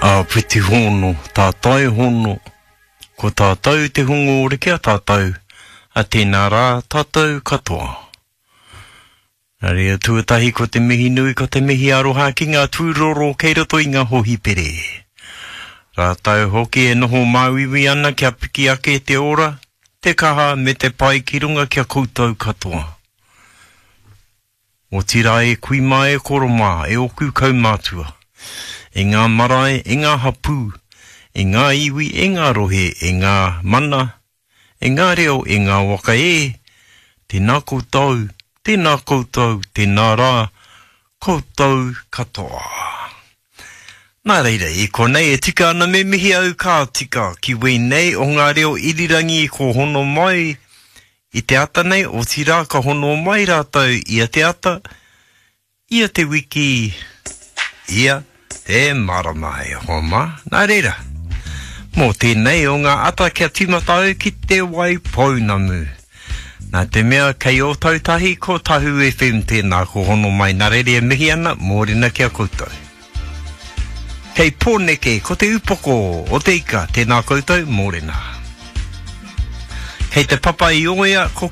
Āpiti hono, tātai hono, ko tātou te hongōre ki a tātou, a tēnā rā tātou katoa. Nā reira tuatahi ko te mihi nui, ko te mihi aroha ki ngā tūroro kei roto i ngā hōhipere. Rātou hoki e noho māuiui ana kia piki ake te ora, te kaha me te pai ki runga ki a koutou katoa. Otirā e kui mā e koro mā, e ōku kaumātua, e ngā marae, e ngā hapū, e ngā iwi, e ngā rohe, e ngā mana, e ngā reo, e ngā waka e, tēnā koutou, tēnā koutou, tēnā rā, koutou katoa. Nā reira, i konei e tika ana me mihi au ka tika ki wēnei o ngā reo irirangi ko hono mai I te ata nei, otirā ka hono mai rātou ia te ata, ia te wiki, ia te marama e hoa mā. Nā reira, mō tēnei o ngā ata kia tīmata au ki Te Waipounamu. Nā te mea kei Ōtautahi ko Tahu FM tēnā ko hono mai nā reira e mihi ana, mōrena ki a koutou. Kei Pōneke, ko te upoko o te ika, tēnā koutou, mōrena. Kei te papa i Oea, ko.